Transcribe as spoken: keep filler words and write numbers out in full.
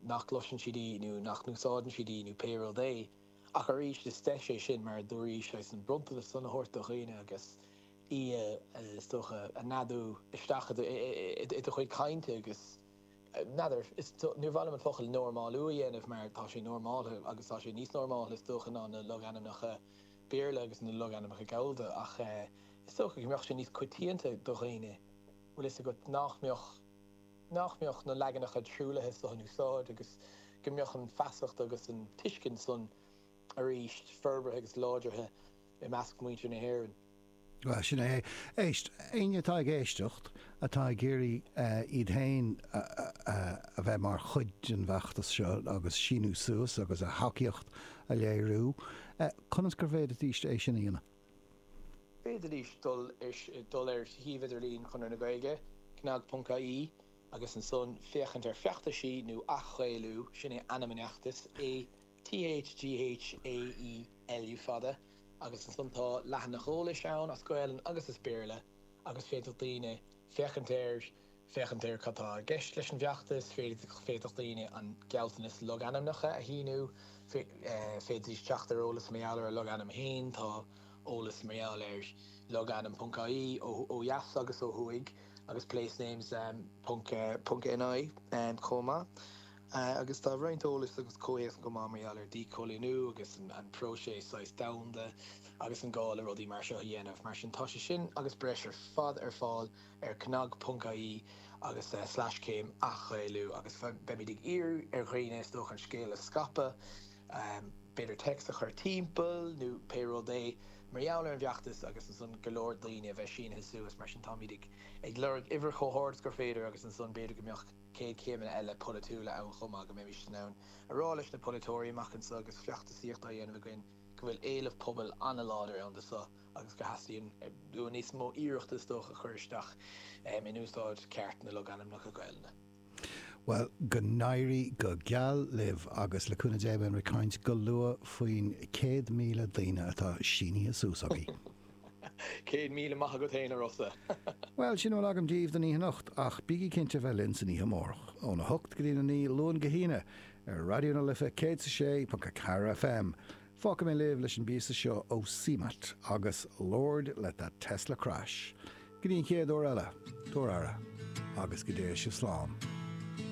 nach gcloiseann siad í nó nach n-úsáideann siad í nó pé rud é. Ach arís is deis é sin mar a dúraís leis an bronntanas san a thabhairt do dhaoine agus í is dócha a neadú isteach i do chuid cainte agus n'fheadar, níor mhaith liom an focal normálú a dhéanamh mar tá sé normáltha agus tá sé níos normáltha is dócha ná na logainmneacha Béarla agus na logainmneacha Gallda ach is dócha go mbeadh sé níos coitianta do dhaoine, bhfuil fhios agat, nach mbeadh nach mbeadh na leaganacha truaillithe seo in úsáid agus go mbeadh an feasacht agus an tuiscint san arís forbartha agus láidrithe i measc muintir na hÉireann. Bhuel, sin é. Éist, éinne atá ag éisteacht, atá ag iarraidh iad féin a bheith mar chuid den bhfeachtas seo agus síniú suas agus a thacaíocht a léiriú, conas gur bhféadfaidís é sin a dhéanamh? Bhféadfaidís dul dul ar shuíomh idirlín Chonradh na Gaeilge, cnag ponc ie, agus ansan féachaint ar feachtaisí nó athghaelú, sin é ainm an fheachtais, A T H G H A E L U fada, agus ansan tá leathanach eolais ann as Gaelainn agus as Béarla agus féadfaidh daoine féachaint air, féachaint ar cad tá i gceist leis an bhfeachtas, féadfaidh daoine an gealltanas logainmneacha a shíniú, féadfaidís teacht ar eolas mar gheall ar a logainm féin, tá eolas mar gheall ar logainm ponc ie ó dheas agus ó thuaidh agus placenames ponc ponc N I chomh maith. Agus tá roinnt eolais agus comhthéacs chomh maith mar gheall ar dhíchoilíniú agus an próiseas saghas domhanda agus an gá le rudaí mar seo a dhéanamh. Mar sin tá sé sin agus breis ar fad ar fáil ar cnag ponc ie agus slash céim athghaelú agus beimid ag iarraidh ar dhaoine is dócha an scéal a scaipeadh, b'fhéidir téacs a chur timpeall nó pé rud é mar gheall ar an bhfeachtas agus ansan go leor daoine a bheith sínithe suas. Mar sin táimid ag ag lorg uimhir chomh hard is gur féidir agus ansan b'fhéidir go mbeadh céad céimeanna eile polaitiúla ann chomh maith go mbeimis in ann a rá leis na polaiteoirí amach anseo agus feachtasaíocht á dhéanamh againn go bhfuil éileamh pobail an-láidir ann do seo agus go theastaíonn níos mó iarrachta is dócha a chur isteach in úsáid ceart na logainmneacha Gaelainne. Bhuel, go n-éirí go geal libh agus le cúnamh Dé beimid ag caint go luath faoin céad míle daoine atá sínithe suas agaibh. Céad míle maith agat féin, a Rossa. Bhuel, sin a bhfuil agam daoibh don oíche anocht, ach bígí cinnte bheith linn san oíche amárach, óna hocht go dtí a naoi, Luan go hAoine, ar Raidió na Life céad is a sé ponc a ceathair F M. Fágfaidh mé libh leis an bpíosa seo ó C M A T agus Lord Let That Tesla Crash. Go dtí an chéad uair eile, tabhair aire, agus go dté sibh slán.